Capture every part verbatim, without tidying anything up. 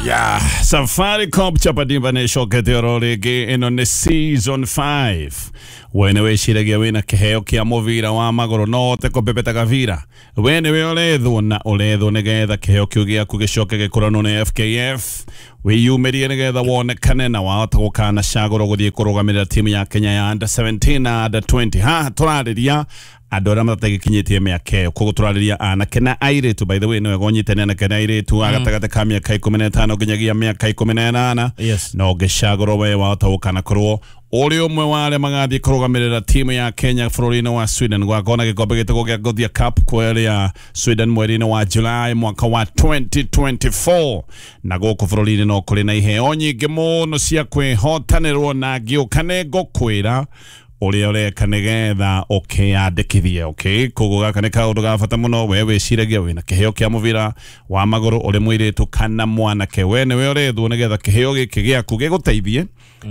Yeah, Safaricom Chapadimba nä ĩcokete oro rĩngĩ. Ĩno nĩ season five. We nĩ wĩciragia wĩna kĩheo kĩa mũbira wa magũrũ, no ũhote kũbebeta gabira. We nĩwe ũrethwo na ũrethwo nĩgetha kĩheo kĩu gĩaku gĩcoke gĩkũranwo nĩ F K F. Wĩyumĩrie nĩgetha wonekane na wahota gũkanacagũrwo gũthiĩ kũrũgamĩrĩra timu ya Kenya ya under seventeen na under twenty. Haha tũrarĩria andũ arĩa matagikinyĩtie mĩaka ĩyo, koguo tũrarĩria anake na airĩtu. By the way, nĩ wega ũnyite nĩ anake na airĩtu a gatagatĩ ka mĩaka ikũmi na ĩtano nginyagia mĩaka ikũmi na ĩnana. Yes. Na ũngĩcagũrwo, we wahota gũkanakorwo ũrĩ ũmwe wa arĩa magathiĩ kũrũgamĩrĩra timu ya Kenya bũrũri-inĩ wa Sweden gwakorwo na gĩkombe gĩtagwo gĩa Gothia Cup kũrĩa Sweden mweri-inĩ wa July mwaka wa twenty twenty-four. Na gũkũ bũrũri-inĩ no kũrĩ na iheo nyingĩ mũno cia kwĩhotanĩrwo, na ngĩũka nĩ ngũkwĩra ũrĩa ũreka nĩgetha ũkĩyandĩkithie. Okay, koguo gaka nĩ kaũndũ ga bata mũno. We wĩciragia wĩna kĩheo kĩa mũbira wa magũrũ, ũrĩ mũirĩtu kana mwanake, we nĩwe ũrethwo nĩgetha kĩheo gĩkĩ gĩaku gĩgũteithie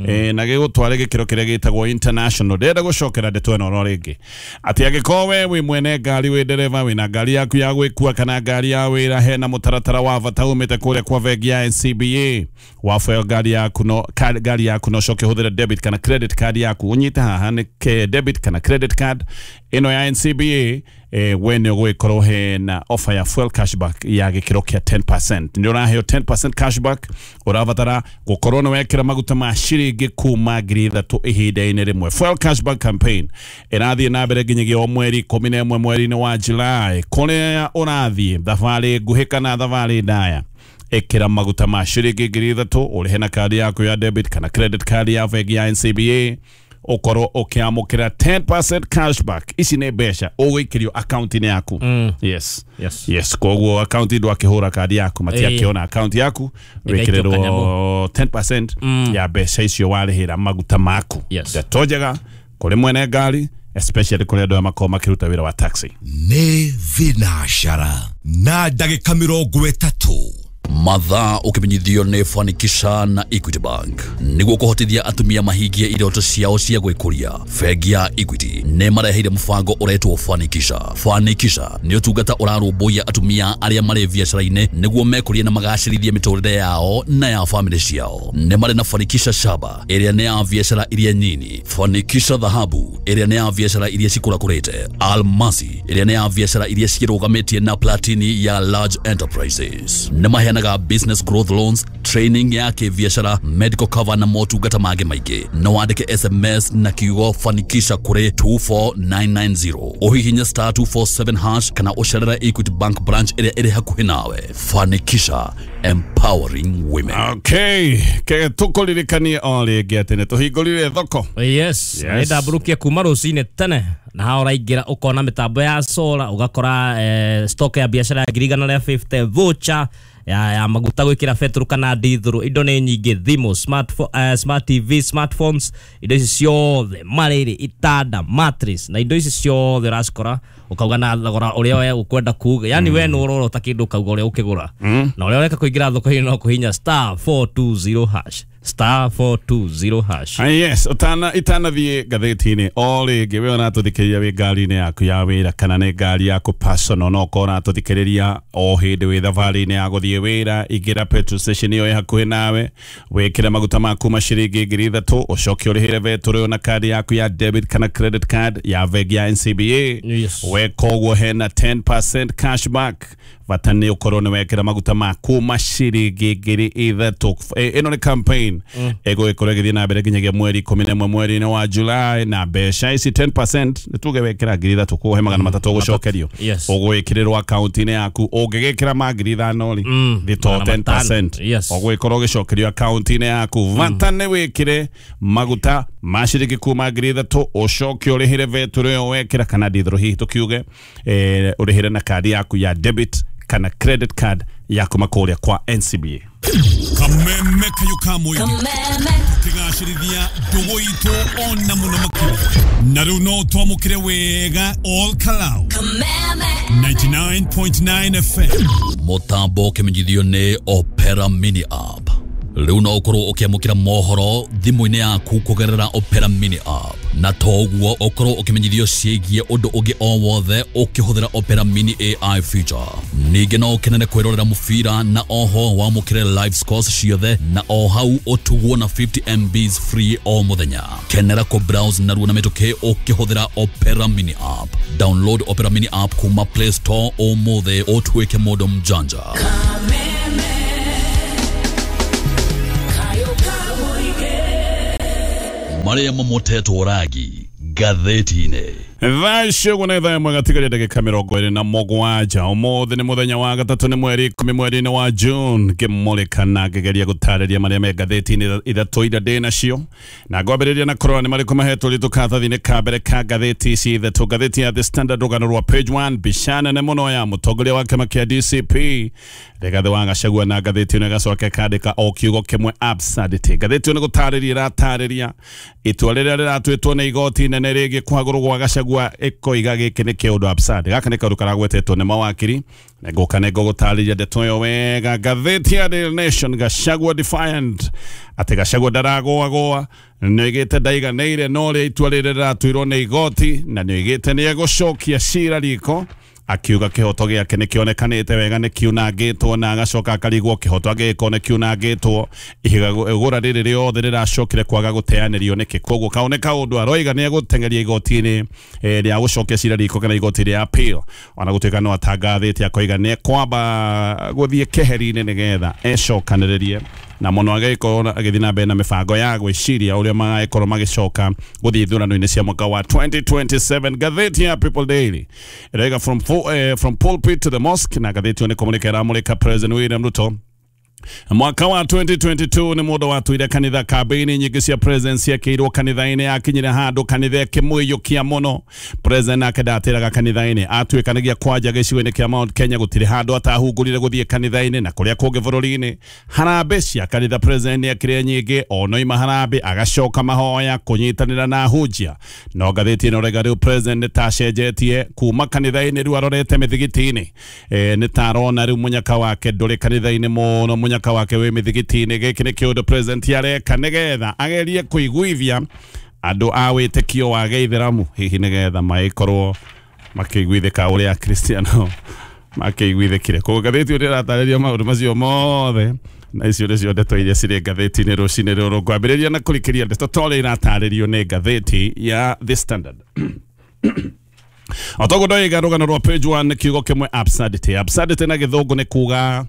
eh, na gĩgũtware gĩkĩro kĩrĩa gĩtagwo international. Ndĩrenda gũcokera ndeto ĩno oro rĩngĩ atĩ angĩkorwo we wĩ mwene ngari, wĩ ndereba, wĩna ngari yaku ya gwĩkua kana ngari ya wĩra, hena mũtaratara wa bata umĩte kũrĩa kwa bengi ya N C B A. Waboya ngari yaku no ka- ngari yaku no ũcoke ũhũthĩre debit kana credit card yaku. Ũnyite haha nĩ ke debit kana credit card ĩno ya N C B A, eh, we nĩ ũgũgĩkorwo hena offer ya fuel cashback ya gĩkĩro kĩa ten percent. Nĩ ũraheo ten percent cashback. Ũrabatara gũkorwo nĩ wekĩra maguta ma ciringi kuma ngiri ithatũ ihinda-inĩ rĩmwe. Fuel cashback campaign ĩrathiĩ na mbere nginyagia o mweri ikũmi na ĩmwe mweri-inĩ wa July. Kũrĩa ũrathiĩ thabarĩ nguhĩ kana thabarĩ ndaya, ĩkĩra maguta ma ciringi ngiri ithatũ, ũrĩhe na kandi yaku ya debit kana credit card ya bengi ya N C B A, ũkorwo ũkĩamũkĩra ten percent cashback. Ici nĩ mbeca ũgũikĩrio akaunti-inĩ yaku. Mm. Yes. Yes. Yes, koguo akaunti ndwakĩhũra kandi yaku, matiakĩona akaunti yaku. Ĩgaikio. Wĩkĩrĩrwo ten percent Mm. ya mbeca icio warĩhĩra maguta maku. Yes. Ndeto njega kũrĩ mwene ngari, especially kũrĩ andũ arĩa makoragwo makĩruta wĩra wa taxi. Nĩ thinacara na ndagĩka mĩrongo ĩtatũ. Mathaa ũkĩmenyithio nĩ Fanikisha na Equity Bank. Nĩguo kũhotithia atumia mahingie iroto ciao cia gwĩkũria, bengi ya Equity nĩ mareheire mũbango ũretwo Fanikisha. Fanikisha nĩ ũtungata ũrarũmbũiya atumia arĩa marĩ biacara-inĩ nĩguo mekũrie na magacĩrithie mĩtũrĩre yao na ya famĩlĩ ciao. Nĩ marĩ na Fanikisha Shaba, ĩrĩa nĩ ya biacara iria nyini, Fanikisha Dhahabu, ĩrĩa nĩ ya biacara iria cikũrakũrĩte, Almasi, ĩrĩa nĩ ya biacara iria ciĩrũgamĩtie, na Platini ya large enterprises. Nĩ maheanaga business growth loans, training ya kĩbiacara, medical cover na motungata mangĩ maingĩ. No wandĩke S M S na kiugo "Fanikisha" kũrĩ two four nine nine zero, ũhihinye star two four seven hash kana ũcerere Equity Bank branch ĩrĩa ĩrĩ hakuhĩ nawe. Fanikisha, empowering women. Okay, ke tũkũririkanie o rĩngĩ atĩ nĩ tũhingũrire thoko. Yes. Yes. Nĩ ndambũrũkia kuma rũcinĩ tene na haha ũraingĩra ũkona mĩtambo ya solar, ũgakora eh, stock ya biacara ya ngiri igana rĩa fifty, voucher ya, ya maguta gwĩkĩra betũrũ kana ndithũrũ. Indo nĩ nyingĩ, thimũ, smartphone, uh, smart T V, smartphones, indo ici ciothe, marĩrĩ, itanda, mattress, na indo ici ciothe ũracikora ũkauga na thogora ũrĩa we ũkwenda kuga. Yani we nĩ ũrorota kĩndũ, ũkauga ũrĩa ũkĩgũra, na ũrĩa ũreka kũingĩra thoko-inĩ no kũhinya star four two zero hash, star four two zero hash. Ah, yes, utana itanathiĩ ngathĩti-inĩ o rĩngĩ, we ũratũthikĩrĩria wĩ ngari-inĩ yaku ya wĩra kana nĩ ngari yaku personal, no ũkorwo ũratũthikĩrĩria o hĩndĩ wĩ thabarĩ-inĩ ya gũthiĩ wĩra, ingĩra petrol station ĩyo ĩ hakuhĩ nawe, wĩkĩre maguta maku ma ciringi ngiri ithatũ, ũcoke ũrĩhĩre betũrũ ĩyo na kandi yaku ya debit kana credit card ya bengi ya N C B A. Yes. Weka ũguo hena ten percent cashback. Bata nĩ ũkorwo nĩ wekĩra maguta maku ma ciringi ngiri ithatũ. Ĩ- ĩno nĩ campaign ĩgũgĩkorwo ĩgĩthiĩ na mbere nginyagia mweri ikũmi na ĩmwe mweri-inĩ wa July. Na mbeca ici ten percent, nĩ tuge wekĩra ngiri ithatũ, kũhe magana matatũ ũgũcokerio, Yes. ũgwĩkĩrĩrwo akaunti-inĩ yaku. Ũngĩgĩkĩra ma ngiri ithano rĩ, Mm, thĩ to magana matano. ten percent Yes. ũgũgĩkorwo ũgĩcokerio akaunti-inĩ yaku. Bata nĩ wĩkĩre maguta ma ciringi kuma ngiri ithatũ, ũcoke ũrĩhĩre betũrũ ĩyo wekĩra kana ndithũrũ hihi tũkiuge, eh, ũrĩhĩre na kandi yaku ya debit kana credit card ya kuma kũrĩa kwa N C B A. Kameme kayo ka mũingĩ tũkĩgacĩrithia ndũgũ itũ ona mũno makĩria. Na rĩu no twamũkĩre wega Ol Kalou ninety-nine point nine F M. Mũtambo ũkĩmenyithio nĩ Opera Mini app. Rĩu no ũkorwo ũkĩamũkĩra mohoro thimũ-inĩ yaku kũgerera Opera Mini app, na toguo ũkorwo ũkĩmenyithio ciĩgiĩ ũndũ ũngĩ o wothe ũkĩhũthĩra Opera Mini A I feature. Ningĩ no ũkenere kwĩrorera mũbira na oho wamũkĩre live scores ciothe na o hau ũtugwo na fifty M Bs free o mũthenya. Kenera kũ browse narua na mĩtũkĩ ũkĩhũthĩra Opera Mini app. Download Opera Mini app kuma Play Store ũmũthĩ ũtuĩke mũndũ mjanja. Maria mamotetwo ragi gatheti-inĩ. Thaa icio ũguo nĩ thaa ĩmwe gatigaria ndagĩka mĩrongo ĩrĩ na mũgwanja. Ũmũthĩ nĩ mũthenya wa gatatũ, nĩ mweri ikũmi mweri-inĩ wa June. Ngĩmũrĩka na ngĩgeria gũtarĩria marĩa me ngathĩti-inĩ ithatũ iria ndĩ nacio, na ngwambĩrĩria na kũrora nĩ marĩkũ mahetwo ritũ karatathi-inĩ ka mbere ka ngathĩti ici ithatũ. Ngathĩti ya The Standard, rũgano rwa page one, mbica nene mũno ya mũtongoria wa kĩama kĩa D C P Rigathĩ wa Gachagua, na ngathĩti ĩno ĩgacoka ĩkandĩka o kiugo kĩmwe, absurdity. Ngathĩti ĩno nĩ gũtarĩria ĩratarĩria itua rĩrĩa rĩratuĩtwo nĩ igoti inene rĩgiĩ kũhagũrwo gwa Gachagua, ĩkoiga gĩkĩ nĩ kĩũndũ absurd. Gaka nĩ kaũndũ karagwetetwo nĩ mawakiri, na ngũka nĩ ngũgũtarĩria ndeto ĩyo wega. Ngathĩti ya Daily Nation, Gachagua defiant, atĩ Gachagua ndaragũagũa, nĩoigĩte ndaiganĩire no ũrĩa itua rĩrĩ rĩratuirwo nĩ igoti, na nĩoigĩte nĩegũcokia cira riko, akiuga kĩhoto gĩake nĩkĩonekanĩte wega nĩkiunangĩtwo, na agacoka akarigwo kĩhoto angĩgĩkorwo nĩkiunangĩtwo, ihiga igũra rĩrĩ rĩothe rĩracokire kwaga gũteanĩrio nĩkĩ. Koguo kau nĩ kaũndũ aroiga nĩegũteng'eria igoti-inĩ rĩa gũcokia cira riko kana igoti rĩa appeal, ona gũtuĩka no atangathĩte akoiga nĩekwamba gũthiĩ keheri-inĩ nĩgetha ecokanĩrĩrie na mũno agĩkorwo agĩthiĩ na mbere na mĩbango ya gwĩciria ũrĩa magagĩkorwo magĩcoka gũthiĩ ithurano-inĩ cia mwaka wa twenty twenty-seven. Ngathĩti ya People Daily ĩroiga from, uh, from pulpit to the mosque, na ngathĩti ĩyo nĩ kũmũrĩka ĩramũrĩka President William Ruto. Mwaka wa twenty twenty-two nĩ mũndũ watuire kanitha, kambĩini nyingĩ cia president ciekĩirwo kanitha-inĩ, yakinyire handũ kanitha ĩkĩmũiyũkia mũno. President nake ndatĩraga kanitha-inĩ, atuĩkanagia kwanja gĩcigo-inĩ kĩa Mount Kenya, gũtirĩ handũ atahungurire gũthiĩ kanitha-inĩ na kũrĩa kũngĩ bũrũri-inĩ. Harambĩ cia kanitha president nĩekire nyingĩ, onoima harambĩ agacoka mahoya kũnyitanĩra na ahunjia. No ngathĩti ĩno rega rĩu president nĩ tacenjetie kuma kanitha-inĩ, rĩu arorete mĩthigiti-inĩ. E, nĩ tarona rĩu mũnyaka wake ndũrĩ kanitha-inĩ mũno, mũnyaka wake wĩ mĩthigiti-inĩ. Gĩkĩ nĩ kĩũndũ president areka nĩgetha agerie kũiguithia andũ a wĩtĩkio wa gĩithĩramu, hihi nĩgetha magĩkorwo makĩiguithĩka ũrĩa Akristiano makĩiguithĩkire. Koguo ngathĩti ĩyo ĩratarĩria maũndũ macio mothe, na icio nĩcio ndeto iria cirĩ ngathĩti-inĩ rũcinĩ rũrũ. Ngwambĩrĩria na kũrikĩria ndeto ta ũrĩa iratarĩrio nĩ ngathĩti ya The Standard. Otoguo ndoiga, rũgano rwa page one, kiugo kĩmwe, absurdity. Absurdity na gĩthũngũ nĩ kuga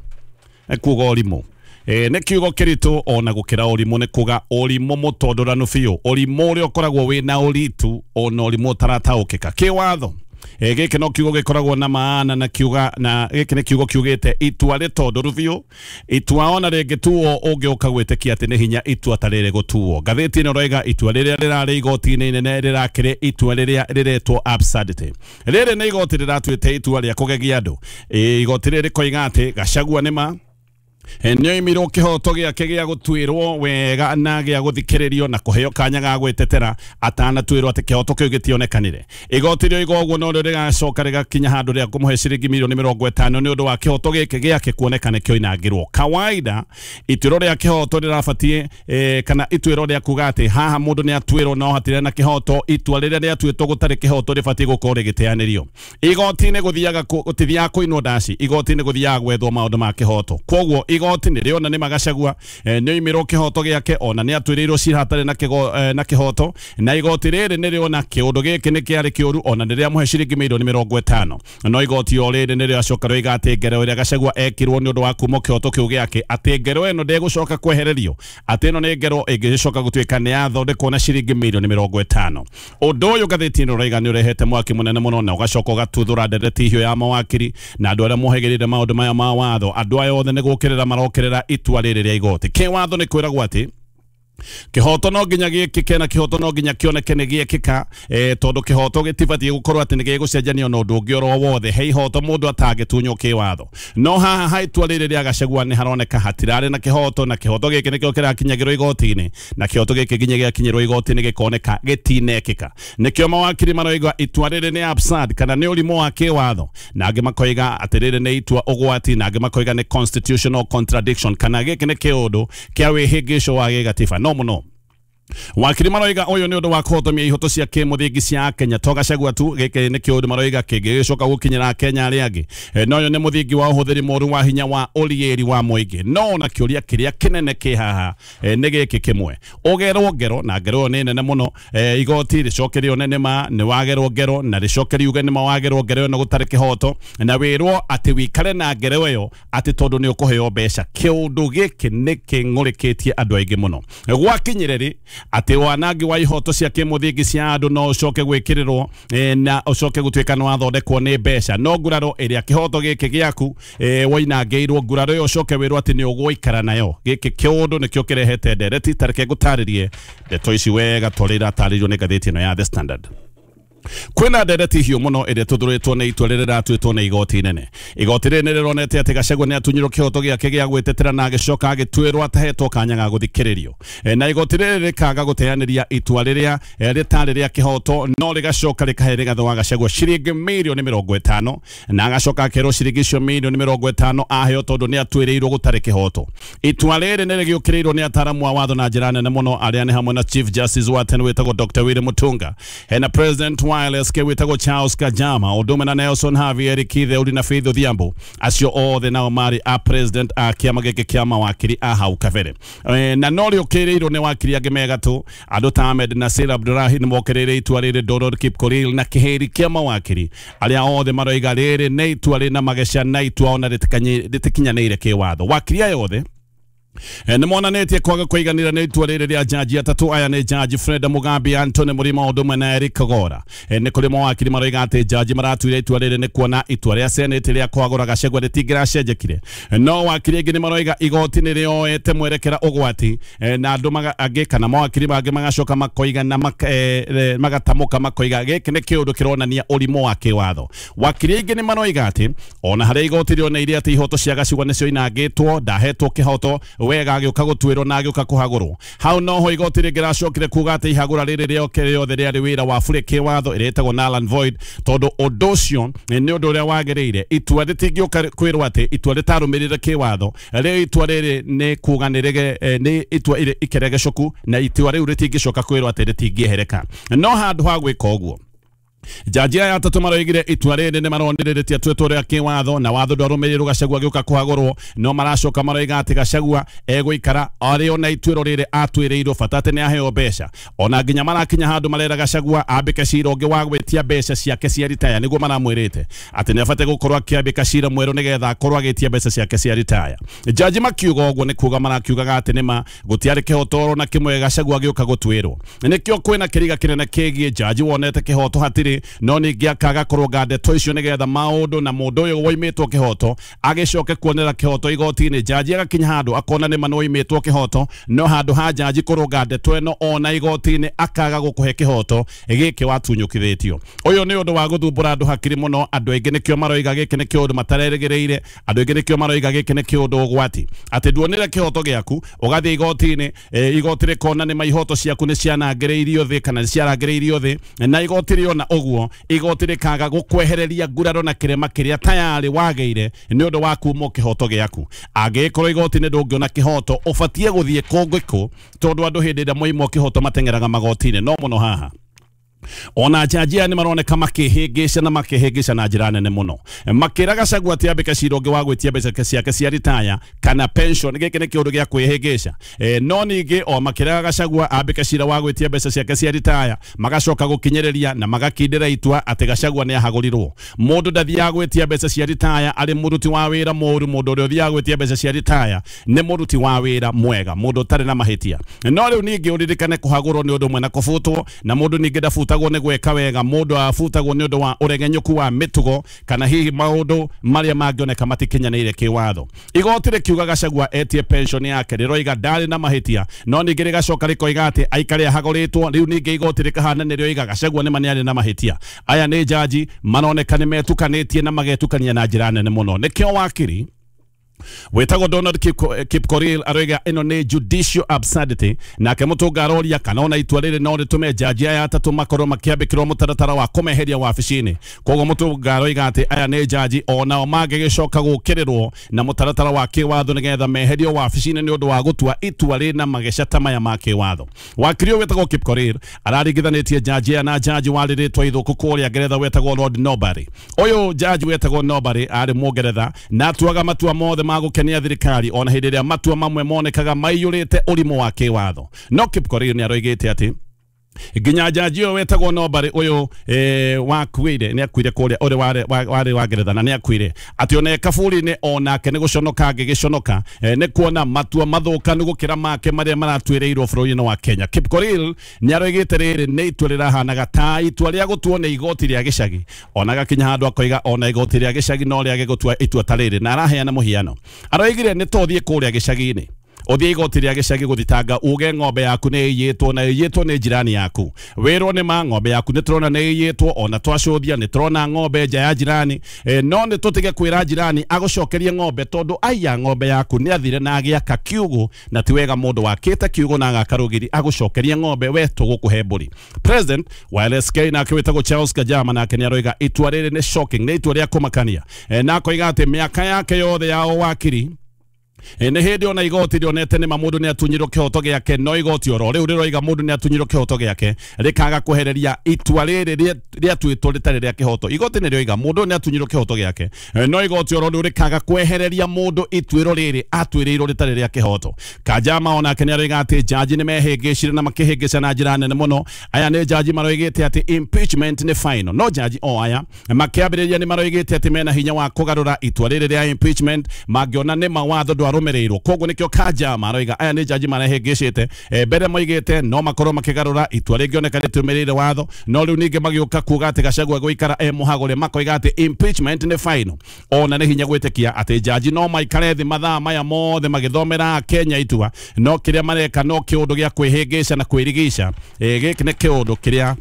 kuga ũrimũ. E, nĩ kiugo kĩritũ ona gũkĩra ũrimũ, nĩ kuga ũrimũ mũtondoranu biũ, ũrimũ ũrĩa ũkoragwo wĩna ũritũ ona ũrimũ ũtarataũkĩka kĩwatho. E, gĩkĩ no kiugo gĩkoragwo na maana, na kiuga na gĩkĩ nĩ kiugo kiugĩte itua rĩtondoru biũ, itua ona rĩngĩtuo ũngĩũka gwĩtĩkia atĩ nĩ hinya itua ta rĩrĩ gũtuo. Ngathĩti ĩno ĩroiga itua rĩrĩa rĩrarĩ igoti-inĩ inene rĩrakĩrĩ itua rĩrĩa rĩretwo absurdity. Rĩrĩ nĩ igoti rĩratuĩte itua rĩa kũgegia andũ. E, igoti rĩrĩ rĩkoiga atĩ Gachagua nĩ ma nĩoimirwo kĩhoto gĩake gĩa gũtuĩrwo wega na gĩa gũthikĩrĩrio na kũheo kanya ga gwĩtetera atanatuĩrwo atĩ kĩhoto kĩu gĩtionekanire. Igoti rĩoiga ũguo no rĩo rĩgacoka rĩgakinya handũ rĩa kũmũhe ciringi mirioni mĩrongo ĩtano nĩ ũndũ wa kĩhoto gĩkĩ gĩake kuoneka nĩkĩoinangirwo. Kawaida ituĩro rĩa kĩhoto rĩrabatiĩ eh, kana ituĩro rĩa kuga atĩ haha mũndũ nĩatuĩrwo no hatirĩ na kĩhoto, itua rĩrĩa rĩatuĩtwo gũtarĩ kĩhoto rĩbatiĩ gũkorwo rĩgĩteanĩrio. Igoti-inĩ gũthiaga gũtithiaga kũinwo ndaci, igoti-inĩ gũthiaga gwethwo maũndũ ma kĩhoto. Koguo igoti nĩ rĩona nĩ Magachagua nĩoimirwo kĩhoto gĩake ona nĩ atuĩrĩirwo cira hatarĩ na kĩgo na kĩhoto, na igoti rĩrĩ nĩ rĩona kĩũndũ gĩkĩ nĩ kĩarĩ kĩũru ona nĩ rĩamũhe ciringi mirioni mĩrongo ĩtano. No igoti o rĩrĩ nĩ rĩacoka rĩoiga atĩ ngero ĩrĩa Gachagua ekirwo nĩ ũndũ wa kuma kĩhoto kĩu gĩake, atĩ ngero ĩno ndĩgũcoka kwehererio, atĩ ĩno nĩ ngero ĩngĩcoka gũtuĩka nĩ yathondekwo na ciringi mirioni mĩrongo ĩtano. Ũndũ ũyũ ngathĩti ĩno ũraiga nĩ ũrehete mwaki mũnene mũno na ũgacoka ũgatuthũra ndereti hiyo ya mawakiri na andũ arĩa mohĩgĩrĩire maũndũ maya ma watho. Andũ aya othe nĩ gũkĩrĩra marokĩrĩra itua rĩrĩ rĩa igoti. Kĩwatho nĩ kwĩragwo atĩ Kihoto no nginya gĩkĩke na kihoto no nginya kĩoneke nĩ gĩekĩka, eh, tondũ kĩhoto gĩtibatiĩ gũkorwo atĩ nĩ gĩgũcenjanio na ũndũ ũngĩ oro wothe. He ihoto mũndũ atangĩtunywo kĩwatho, no haha ha itua rĩrĩ rĩa Gachagua nĩ haroneka hatirarĩ na kĩhoto, na kĩhoto gĩkĩ nĩkĩo kĩrakinyagĩrwo igoti-inĩ, na kĩhoto gĩkĩ nginya gĩakinyĩrwo igoti-inĩ gĩkoneka gĩtinekĩka. Nĩkĩo mawakiri maroiga itua rĩrĩ nĩ absurd kana nĩ ũrimũ wa kĩwatho, na angĩ makoiga atĩ rĩrĩ nĩ itua ũgwati, na angĩ makoiga nĩ constitutional contradiction kana gĩkĩ nĩ kĩũndũ kĩa wĩhĩngĩco wa gĩgatiba. No muno wakiri maroiga ũyũ nĩ ũndũ wa kũhotomia ihoto cia kĩmũthingi cia Kenya to Gachagua tu, gĩkĩ nĩ kĩũndũ maroiga kĩngĩgĩcoka gũkinyĩra Kenya arĩa angĩ. E, no ũyũ nĩ mũthingi wa ũhũthĩri mũru wa hinya wa ũriĩri wa mũingĩ. No na kĩũria kĩrĩa kĩnene kĩ haha e, nĩ gĩkĩ kĩmwe, ũgerwo ngero na ngero ĩyo nĩ nene mũno, e, igoti rĩcoke rĩone nĩma nĩ wagerwo ngero na rĩcoke riuge nĩma wagerwo ngero ĩyo na gũtarĩ kĩhoto, na wĩrwo atĩ wĩikare na ngero ĩyo atĩ tondũ nĩ ũkũheo mbeca. Kĩũndũ gĩkĩ nĩ kĩng'ũrĩkĩtie andũ aingĩ mũno gwakinyire rĩ atĩ wanangi wa ihoto cia kĩmũthingi cia andũ no ũcoke gwĩkĩrĩrwo e, na ũcoke gũtuĩka nĩ wathondekwo nĩ mbeca. No nguraro ĩrĩa kĩhoto gĩkĩ gĩaku e, woinangĩirwo nguraro ĩyo ũcoke wĩrwo atĩ nĩ ũgũikara nayo. Gĩkĩ kĩũndũ nĩkĩo kĩrehete ndereti. Tareke ngũtarĩrie ndeto ici wega torĩa iratarĩrio nĩ ngathĩti ĩno ya The Standard. Kwĩna ndereti hiũ mũno ĩrĩa tũthũrĩtwo nĩ itua rĩrĩa rĩratuĩtwo nĩ igoti inene. Igoti rĩrĩ nĩ rĩronete atĩ Gachagua nĩ atunyirwo kĩhoto gĩake gĩa gwĩtetera na agĩcoka agĩtuĩrwo atahetwo kanya ga gũthikĩrĩrio, e, na igoti rĩrĩ rĩkaga gũteanĩria itua rĩrĩa rĩtarĩ rĩa kĩhoto, no rĩgacoka rĩkahe Rigathĩ wa Gachagua ciringi mirioni mĩrongo ĩtano, na agacoka akerwo ciringi icio mirioni mĩrongo ĩtano aheo tondũ nĩ atuĩrĩirwo gũtarĩ kĩhoto. Itua rĩrĩ nĩ rĩgĩũkĩrĩirwo nĩ ataramu a watho na njĩra nene mũno arĩa nĩ hamwe na Chief Justice wa tene wĩtagwo Doctor Willy Mutunga, hena President wa L S K wĩtagwo Charles Kajama, ũndũ ũmwe na Nelson Havi, Eric Kitheuri na Faith Odhiambo. Acio othe nao marĩ a president a kĩama gĩkĩ kĩa mawakiri a hau kabere, e, na no rĩũkĩrĩirwo nĩ wakiri angĩ me gatũ andũ ta Ahmed Nasir Abdurahi nĩ mokĩrĩire itua rĩrĩ, Donald Kipkorir na kĩhĩri kĩa mawakiri arĩa othe maroiga rĩrĩ nĩ itua rĩna mageca na itua ona rĩtikinyanĩire kĩwatho. Wakiri aya othe nĩ monanĩtie kwaga kũiganĩra nĩ itua rĩrĩ rĩa jaji atatũ aya nĩ Jaji Freda Mugambi, Anthony Murima ũndũ ũmwe na Eric Kagora. E, nĩ kũrĩ mawakiri maroiga atĩ jaji maratuire itua rĩrĩ nĩ kuona itua rĩa Senate rĩa kwagũra Gachagua rĩtingĩracenjekire. No wakiri aingĩ nĩ maroiga igoti nĩ rĩoete mwerekera ũgwati, e, na andũ angĩ kana mawakiri mangĩ magacoka makoiga na e, magatamũka makoiga gĩkĩ nĩ kĩũndũ kĩronania ũrimũ wa kĩwatho. Wakiri aingĩ nĩ maroiga atĩ ona harĩa igoti rĩoneire atĩ ihoto cia Gachagua nĩcio inangĩtwo, ndahetwo kĩhoto wega agĩũka gũtuĩrwo na agĩũka kũhagũrwo. Hau noho igoti rĩngĩracokire kuga atĩ ihagũra rĩrĩ rĩoke rĩothe rĩarĩ wĩra wa bure kĩwatho ĩrĩa ĩtagwo null and void, tondũ ũndũ ũcio nĩ ũndũ ũrĩa wagĩrĩire. Itua rĩtingĩũka kwĩrwo atĩ itua rĩtarũmĩrĩire kĩwatho, rĩu itua rĩrĩ nĩ kuga nĩ rĩge nĩ itua ikeregecoku, na itua rĩu rĩtingĩcoka kwĩrwo atĩ rĩtingĩehereka. No handũ ha gwĩka ũguo, jaji aya atatũ maroigire itua rĩrĩ nĩ maronire rĩtiatuĩtwo rĩa kĩwatho na watho ndwarũmĩrĩirwo Gachagua agĩũka kũhagũrwo, no maracoka maroiga atĩ Gachagua egũikara arĩ ona ituĩro rĩrĩ atuĩrĩirwo bata atĩ nĩ aheo mbeca. Ona nginya marakinya handũ marera Gachagua ambĩke cira ũngĩ wa gwĩtia mbeca ciake cia ritaya, nĩguo maramwĩrĩte atĩ nĩ abatiĩ gũkorwo akĩambĩka cira mwerũ nĩgetha akorwo agĩtia mbeca ciake cia ritaya. Jaji makiuga ũguo nĩ kuga marakiugaga atĩ nĩma gũtiarĩ kĩhoto na kĩmwe Gachagua agĩũka gũtuĩrwo. Nĩkĩo kwĩna kĩriga kĩnene kĩgiĩ jaji wonete kĩhoto hatirĩ, no ningĩ akaga kũrũnga ndeto icio nĩgetha maũndũ na mũndũ ũyũ woimĩtwo kĩhoto agĩcoke kuonera kĩhoto igoti-inĩ. Jaji agakinya handũ akona nĩma nĩwoimĩtwo kĩhoto, no handũ ha jaji kũrũnga ndeto ĩno ona igoti-inĩ akaga gũkũhe kĩhoto gĩkĩ watunyũkithĩtio. Ũyũ nĩ ũndũ wa gũthumbũra andũ hakiri mũno. Andũ aingĩ nĩkĩo maroiga gĩkĩ nĩ kĩũndũ matarerĩgĩrĩire, andũ aingĩ nĩkĩo maroiga gĩkĩ nĩ kĩũndũ ũgwati, atĩ nduonire kĩhoto gĩaku ũgathiĩ igoti-inĩ, e, igoti rĩkona nĩma ihoto ciaku nĩ cianangĩrĩirio thĩ kana nĩ ciarangĩrĩirio thĩ, na igoti rĩona ũguo igoti rĩkaga gũkwehereria nguraro na kĩrema kĩrĩa tayarĩ wagĩire nĩ ũndũ wa kumwo kĩhoto gĩaku. Angĩkorwo igoti nĩ ndũngĩona kĩhoto, ũbatiĩ gũthiĩ kũngĩ kũ, tondũ andũ hĩndĩ ĩrĩa moimwo kĩhoto mateng'eraga magoti-inĩ. No mũno haha ona jaji aya nĩ maroneka makĩhĩngĩca na makĩhĩngĩca na njĩra nene mũno, makĩra Gachagua atĩ ambĩke cira ũngĩ wa gwĩtia mbeca ciake cia ritaya kana pension. Gĩkĩ nĩ kĩũndũ gĩa kwĩhĩngĩca. E, no ningĩ o makĩraga Gachagua ambĩke cira wa gwĩtia mbeca ciake cia ritaya, magacoka gũkinyĩrĩria na magakindĩra itua atĩ Gachagua nĩ ahagũrirwo. Mũndũ ndathiaga gwĩtia mbeca cia ritaya arĩ mũruti wa wĩra mũũru, mũndũ ũrĩa ũthiaga gwĩtia mbeca cia ritaya nĩ mũruti wa wĩra mwega, mũndũ ũtarĩ na mahĩtia. No rĩu ningĩ ũririkane kũhagũrwo nĩ ũndũ ũmwe na kũbutwo, na mũndũ ningĩ ndabutagwo ndabutagwo nĩ gwĩka wega, mũndũ abutagwo nĩ ũndũ wa ũregenyũku wa mĩtugo kana hihi maũndũ marĩa mangĩoneka matikinyanĩire kĩwatho. Igoti rĩkiuga Gachagua etie pension yake rĩroiga ndarĩ na mahĩtia, no ningĩ rĩgacoka rĩkoiga atĩ aikare ahagũrĩtwo. Rĩu ningĩ igoti rĩkahana nĩ rĩoiga Gachagua nĩ ma nĩarĩ na mahĩtia. Aya nĩ jaji maroneka nĩ metukanĩtie na magetukania na njĩra nene mũno. Nĩkĩo wakiri wetagwo Donald Kipkorir aroiga ĩno nĩ judicial absurdity, nake Mutunga aroria kana ona itua rĩrĩ no rĩtũme jaji aya atatũ makorwo makĩambĩkĩrwo mũtaratara wa kũmeheria wabici-inĩ. Koguo Mutunga aroiga atĩ aya nĩ jaji onao mangĩgĩcoka gũkĩrĩrwo na mũtaratara wa kĩwatho nĩgetha meherio wabici-inĩ nĩ ũndũ wa gũtua itua rĩna mageca ta maya ma kĩwatho. Wakiri ũyũ wetagwo Kipkorir araringithanĩtie jaji aya na jaji warĩ rĩtwa ithũku kũrĩa Ngeretha wetagwo Lord Norbury. Ũyũ jaji wetagwo Norbury arĩ Mũngeretha na atuaga matua mothe ma gũkenia thirikari ona hĩndĩ ĩrĩa matua mamwe monekaga maiyũrĩte ũrimũ wa kĩwatho. No Kipkorir nĩ aroigĩte atĩ nginya jaji ũyũ wetagwo Norbury ũyũ eh, wakuire nĩ akuire kũrĩa ũrĩ warĩ warĩ wa Ngeretha na nĩ akuire atĩ ona kaburi-inĩ onake nĩ gũconoka angĩgĩconoka eh, nĩ kuona matua mathũkanu gũkĩra make marĩa maratuĩrĩirwo bũrũri-inĩ wa Kenya. Kipkorir nĩ aroigĩte rĩrĩ nĩ itua rĩrahanaga ta itua rĩa gũtuo nĩ igoti rĩa gĩcagi, ona gakinya handũ akoiga ona igoti rĩa gĩcagi no rĩage gũtua itua ta rĩrĩ, na araheana mũhiano. Aroigire nĩ tũthiĩ kũrĩa gĩcagi-inĩ, ũthiĩ igoti rĩa gĩcagi gũthitanga uge ng'ombe yaku nĩ ĩiyĩtwo na ĩiyĩtwo nĩ jirani yaku, wĩrwo nĩ ma ng'ombe yaku nĩ tũrona nĩ ĩiyĩtwo, ona twacũthia nĩ tũrona ng'ombe nja ya jirani, e, no nĩ tũtige kwĩra jirani agũcokerie ng'ombe tondũ aiya ng'ombe yaku nĩ athire na agĩaka kiugũ, na ti wega mũndũ wakĩte kiugũ na agaka rũgiri agũcokerie ng'ombe we tũgũkũhe mbũri. President wa L S K nake wĩtagwo Charles Kajama nake nĩ aroiga itua rĩrĩ nĩ shocking, nĩ itua rĩa kũmakania, e, na akoiga atĩ mĩaka yake yothe ya ũwakiri nĩ hĩndĩ ona igoti rĩonete nĩ ma mũndũ nĩ atunyirwo kĩhoto gĩake, no igoti oro rĩu rĩroiga mũndũ nĩ atunyirwo kĩhoto gĩake rĩkaga kwehereria itua rĩrĩ rĩatuĩtwo rĩtarĩ rĩa kĩhoto. Igoti nĩ rĩoiga mũndũ nĩ atunyirwo kĩhoto gĩake, no igoti oro rĩu rĩkaga kwehereria mũndũ ituĩro rĩrĩ atuĩrĩirwo rĩtarĩ rĩa kĩhoto. Kajama onake nĩ aroiga atĩ jaji nĩ mehĩngĩcire na makĩhĩngĩca na njĩra nene mũno. Aya nĩ jaji maroigĩte atĩ impeachment nĩ final, no jaji o aya makĩambĩrĩria nĩ maroigĩte atĩ mena hinya wa kũgarũra itua rĩrĩ rĩa impeachment mangĩona nĩ mawatho ndwarumirirwo. Koguo nikio Kajama aroiga aya nĩ jaji marehĩngĩcĩte, mbere moigĩte no makorwo makĩgarũra itua rĩngĩoneka rĩtũmĩrĩire watho, no rĩu ningĩ magĩũka kuga atĩ Gachagua gũikara e mũhagũre makoiga atĩ impeachment nĩ final. Ona nĩ hinya gwĩtĩkia atĩ jaji no maikare thĩ mathaa maya mothe magĩthomera Kenya itua, no kĩrĩa mareka no kĩũndũ gĩa kwĩhĩngĩca na kwĩrigica. Gĩkĩ nĩ kĩũndũ kĩrĩa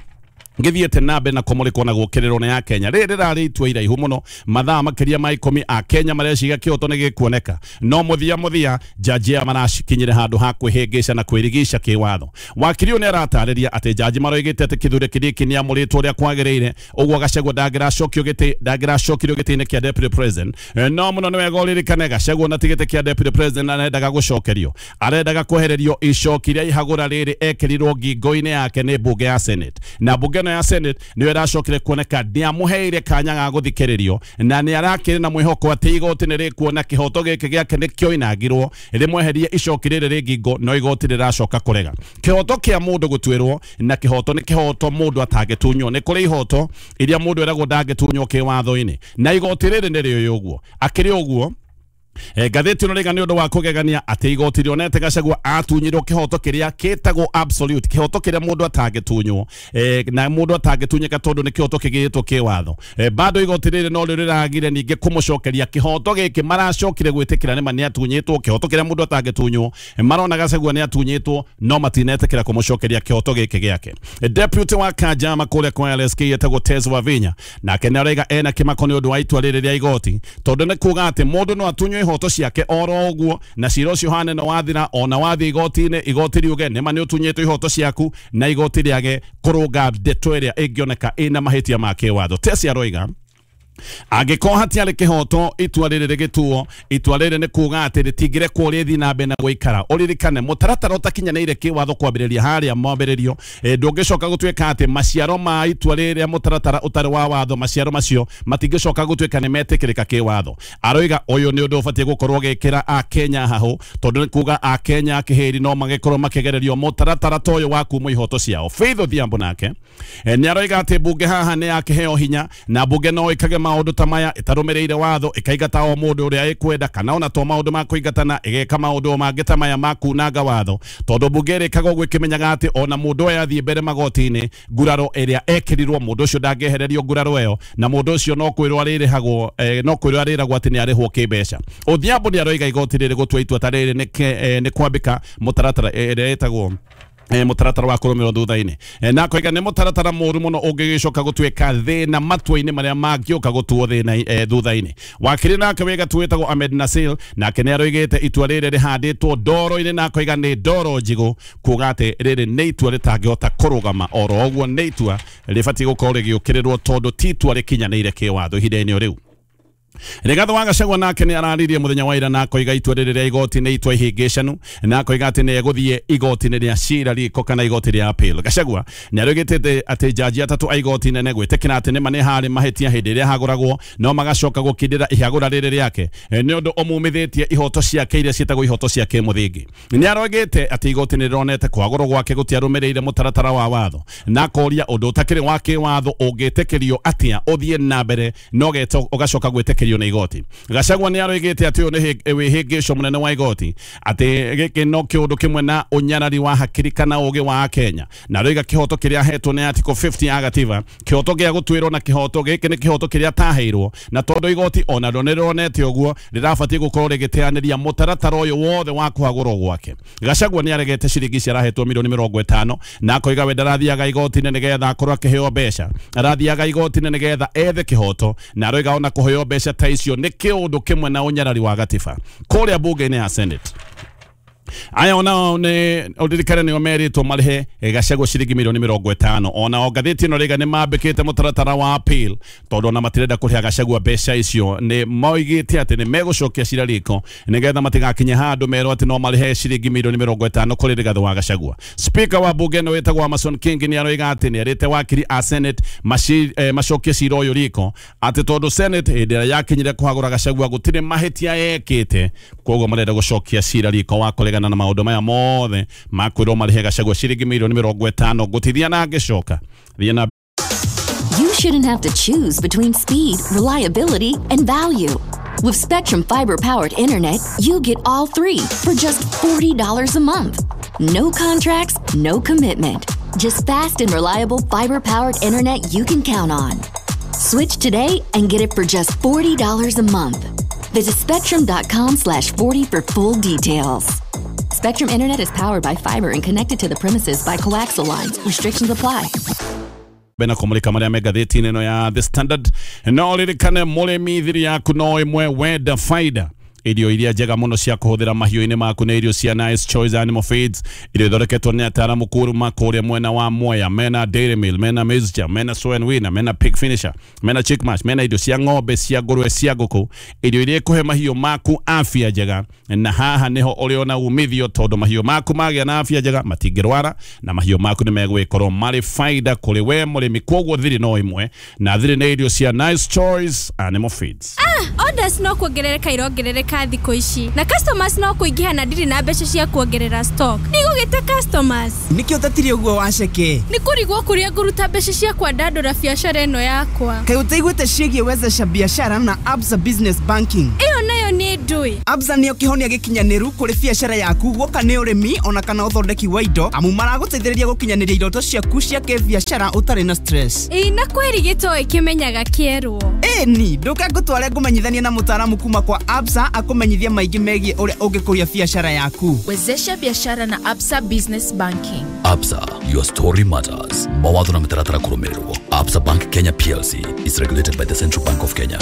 githiete na mbere na kũmũrĩkwo na gũkĩrĩrwo nĩ ya Kenya. Rĩrĩ rĩrarĩ itua iraihu mũno, mathaa makĩria ma ikũmi a Kenya mareciria kĩhoto nĩ gĩkuoneka, no mũthia mũthia jaji aya marakinyire handũ ha kwĩhĩngĩca na kwĩrigica kĩwatho. Wakiri ũyũ nĩ aratarĩria atĩ jaji maroigĩte atĩ Kithure Kindiki nĩamũrĩtwo ũrĩa kwagĩrĩire, ũguo Gachagua ndangĩracokio gĩtĩ ndangĩracokirio gĩtĩ-inĩ kĩa deputy president. No mũno nĩ wega ũririkane Gachagua na ti gĩtĩ kĩa deputy president arendaga gũcokerio, arendaga kwehererio icoki rĩa ihagũra rĩrĩ ekĩrirwo ngingo-inĩ yake nĩ mbunge ya Senate, na mbunge ya Senate nĩyo ĩracokire kuoneka ndĩamũheire kanya ga gũthikĩrĩrio, na nĩ arakĩrĩ na mwĩhoko atĩ igoti nĩ rĩkuona kĩhoto gĩkĩ gĩake nĩkĩoinangirwo rĩmweherie icoki rĩrĩ rĩ ngingo, no igoti rĩracoka kũrega. Kĩhoto kĩa mũndũ gũtuĩrwo na kĩhoto nĩ kĩhoto mũndũ atangĩtunywo. Nĩ kũrĩ ihoto iria mũndũ eragwo ndangĩtunywo kĩwatho-inĩ, na igoti rĩrĩ nĩ rĩũĩ ũguo. Akĩrĩ ũguo ngathĩti ĩno rĩga nĩ ũndũ wa kũgegania atĩ igoti rĩonete Gachagua atunyirwo kĩhoto kĩrĩa kĩtagwo absolute, kĩhoto kĩrĩa mũndũ atangĩtunywo, na mũndũ atangĩtunyĩka tondũ nĩ kĩhoto kĩgĩtwo kĩwatho. Bado igoti rĩrĩ no rĩo rĩragire ningĩ kũmũcokeria kĩhoto gĩkĩ, maracokire gwĩtĩkĩra nĩma nĩ atunyĩtwo kĩhoto kĩrĩa mũndũ atangĩtunywo, marona Gachagua nĩ atunyĩtwo no matinetĩkĩra kũmũcokeria kĩhoto gĩkĩ gĩake. Deputy wa Kajama kũrĩa kwa L S K etagwo Tez Wavinya nake nĩ araiga ena kĩmako nĩ ũndũ wa itua rĩrĩ rĩa igoti, tondũ nĩ kuga atĩ mũndũ no atunywo ihoto ciake oro ũguo na cira ũcio hane no wathira, ona wathiĩ igoti-inĩ igoti riuge nĩma nĩ ũtunyĩtwo ihoto ciaku, na igoti rĩage kũrũnga ndeto ĩrĩa ĩngĩoneka ĩna mahĩtia ma kĩwatho. Tesi aroiga angĩkorwo hatiarĩ kĩhoto itua rĩrĩ rĩgĩtuo, itua rĩrĩ nĩ kuga atĩ rĩtingĩrekwo rĩthiĩ na mbere na gũikara. Ũririkane mũtaratara ũtakinyanĩire kĩwatho kwambĩrĩria harĩa mwambĩrĩrio, ndũngĩcoka gũtuĩka atĩ maciaro ma itua rĩrĩa mũtaratara ũtarĩ wa watho, maciaro macio matingĩcoka gũtuĩka nĩ metĩkĩrĩka kĩwatho. Aroiga ũyũ nĩ ũndũ ũbatiĩ gũkorwo ũgĩkĩra Akenya hahũ, tondũ nĩ kuga Akenya kĩhĩri no magĩkorwo makĩgererio mũtaratara ta ũyũ wa kumwo ihoto ciao. Faith Odhiambo nake nĩ aroiga atĩ mbunge haha nĩ yakĩheo hinya, na mbunge no ĩkage maũndũ ta maya ĩtarũmĩrĩire watho ĩkaingata o mũndũ ũrĩa ĩkwenda kana ona to maũndũ ma kũingatana ĩgeka maũndũ mangĩ ta maya ma kunanga watho tondũ mbunge ĩrĩkaga ũguo ĩkĩmenyaga atĩ ona mũndũ ũyũ athiĩ mbere magoti-inĩ nguraro ĩrĩa ekĩrirwo mũndũ ũcio ndangĩehererio nguraro ĩyo na mũndũ ũcio no kwĩrwo arĩrĩhagwo eh, no kwĩrwo arĩragwo atĩ nĩ arĩhwo kĩmbeca. Odhiambo nĩ aroiga igoti rĩrĩ gũtua itua ta rĩrĩ nĩ kwambĩka mũtaratara ĩrĩa ĩtagwo e mutaratara wa kũrũmĩrĩrwo thutha-inĩ e, na koiga nĩ mũtaratara mũru mũno ũngĩgĩcoka gũtuĩka thĩna matua-inĩ marĩa mangĩũka gũtuo thĩna e, thutha-inĩ. Wakiri nake wĩ gatu wĩtagwo Ahmed Nasil nake nĩ aroigĩte itua rĩrĩ rĩhandĩtwo ndoro-inĩ na koiga nĩ ndoro njigũ kuga atĩ rĩrĩ nĩ itua rĩtangĩhota kũrũgama oro ũguo nĩ itua rĩbatiĩ gũkorwo rĩgĩũkĩrĩrwo tondũ ti itua rĩkinyanĩire kĩwatho ihinda-inĩ o rĩu. Rigathi wa Gachagua nake nĩ araririe mũthenya wa ira na akoiga itua rĩrĩ rĩa igoti nĩ itua ihĩngĩcanu na akoiga atĩ nĩ egũthiĩ igoti-inĩ rĩa cira riko kana igoti rĩa appeal. Gachagua nĩ aroigĩte atĩ jaji atatũ a igoti nene gwĩtĩkĩra atĩ nĩma nĩ harĩ mahĩtia hĩndĩ ĩrĩa hagũragwo no magacoka gũkindĩra ihagũra rĩrĩ rĩake nĩ ũndũ ũmumithĩtie ihoto ciake iria ciĩtagwo ihoto cia kĩmũthingi. Nĩ aroigĩte atĩ igoti nĩ rĩronete kwagũrwo gwake gũtiarũmĩrĩire mũtaratara wa watho na akoria ũndũ ũtakĩrĩ wa kĩwatho ũngĩtĩkĩrio atĩa ũthiĩ na mbere na ũgacoka gwĩtĩkĩrio na igoti. Gachagua nĩ aroigĩte atĩ ũyũ nĩ wĩhĩngĩco mũnene wa igoti atĩ gĩkĩ no kĩũndũ kĩmwe na ũnyarari wa hakiri kana ũgĩ wa Kenya na aroiga kĩhoto kĩrĩa ahetwo nĩ Article fifty ya gatiba kĩhoto gĩa gũtuĩrwo na kĩhoto gĩkĩ nĩ kĩhoto kĩrĩa ataheirwo na tondũ igoti onarĩo nĩ rĩronete ũguo rĩrabatiĩ gũkorwo rĩgĩteanĩria mũtaratara ũyũ wothe wa kũhagũrwo gwake. Gachagua nĩ aregete ciringi ici arahetwo milioni mĩrongo ĩtano na akoiga we ndarathiaga igoti-inĩ nĩgetha akorwo akĩheo mbeca, arathiaga igoti-inĩ nĩgetha ethe kĩhoto na aroiga ona kũheo mbeca ta icio nĩ kĩũndũ kĩmwe na ũnyarari wa gatiba. Kũrĩa bunge-inĩ ya Senate aya onao nĩ ũririkane nĩo merĩtwo marĩhe Gachagua ciringi milioni mĩrongo ĩtano onao ngathĩti ĩno rĩga nĩ mambĩkĩte mũtaratara wa appeal tondũ ona matirenda kũrĩha Gachagua mbeca icio nĩ moigĩte atĩ nĩ megũcokia cira riko nĩgetha matigakinye handũ merwo atĩ no marĩhe ciringi milioni mĩrongo ĩtano kũrĩ Rigathi wa Gachagua. Speaker wa bunge ĩno wĩtagwo Amason King nĩ aroiga atĩ nĩ erĩte wakiri a Senate maci, eh, macokie cira ũyũ riko atĩ tondũ Senate hĩndĩ ĩrĩa yakinyire kũhagũra Gachagua gũtirĩ mahĩtia yekĩte koguo marenda gũcokia cira riko wa kũregana na maũndũ maya mothe makwĩrwo marĩhe Gachagua ciringi milioni mĩrongo ĩtano gũtithia na ngĩcoka thiĩ na. You shouldn't have to choose between speed, reliability, and value. With Spectrum fiber-powered internet, you get all three for just forty dollars a month. No contracts, no commitment. Just fast and reliable fiber-powered internet you can count on. Switch today and get it for just forty dollars a month. Visit spectrum dot com slash forty for full details. Spectrum Internet is powered by fiber and connected to the premises by coaxial lines. Restrictions apply. Bena kũmũrĩka marĩa me ngathĩti-inĩ ĩno ya The Standard no ririkane mũrĩmi thiri yaku no ĩmwe wenda faida irio iria njega mũno cia kũhũthĩra mahiũ-inĩ maku nĩ irio cia Nice Choice Animal Feeds irio ithondeketwo nĩ ataaramu kuma kũrĩa mwena wa Mwea mena Dairy Meal mena Mixture mena Soy and Winner mena Pig Finisher mena Chick Mash mena irio cia ng'ombe cia ngũrwe cia ngũkũ irio iria ikũhe mahiũ maku afya njega na haha nĩho ũrĩona umithio tondũ mahiũ maku magĩa na afya njega matingĩrwara na mahiũ maku nĩ megwĩkorwo marĩ faida kũrĩ we mũrĩmi koguo thiri no ĩmwe na thiri nĩ irio cia Nice Choice Animal Feeds. Ah, orders no kuongerereka irongerereka thikũ ici na customers no kũingĩha na ndirĩ na mbeca cia kuongerera stock ndigũgĩte customers nĩkĩo ũtatire ũguo waceke nĩ kũrigwo kũrĩa ngũruta mbeca cia kwandandũra biacara ĩno yakwa kaĩ ũtaiguĩte ciĩgiĩ wezesha biashara na Absa Business Banking ĩyo nayo nĩ ndũĩ Absa nĩyo kĩhonia gĩkinyanĩru kũrĩ biacara yaku guoka nĩ ũrĩmi ona kana ũthondeki wa indo amu maragũteithĩrĩria gũkinyanĩria iroto ciaku cia kĩbiacara ũtarĩ na stress ĩĩ na kwĩri gĩtoĩ kĩmenyaga kĩerwo ĩni ndũke ngũtware ngũmenyithanie na mũtaaramu kuma kwa Absa akũmenyithia maingĩ megiĩ ũrĩa ũngĩkũria biacara yaku. Wezesha biashara na Absa Business Banking. Absa, your story matters. Mawatho na mĩtaratara kũrũmĩrĩrwo. Absa Bank Kenya P L C is regulated by the Central Bank of Kenya.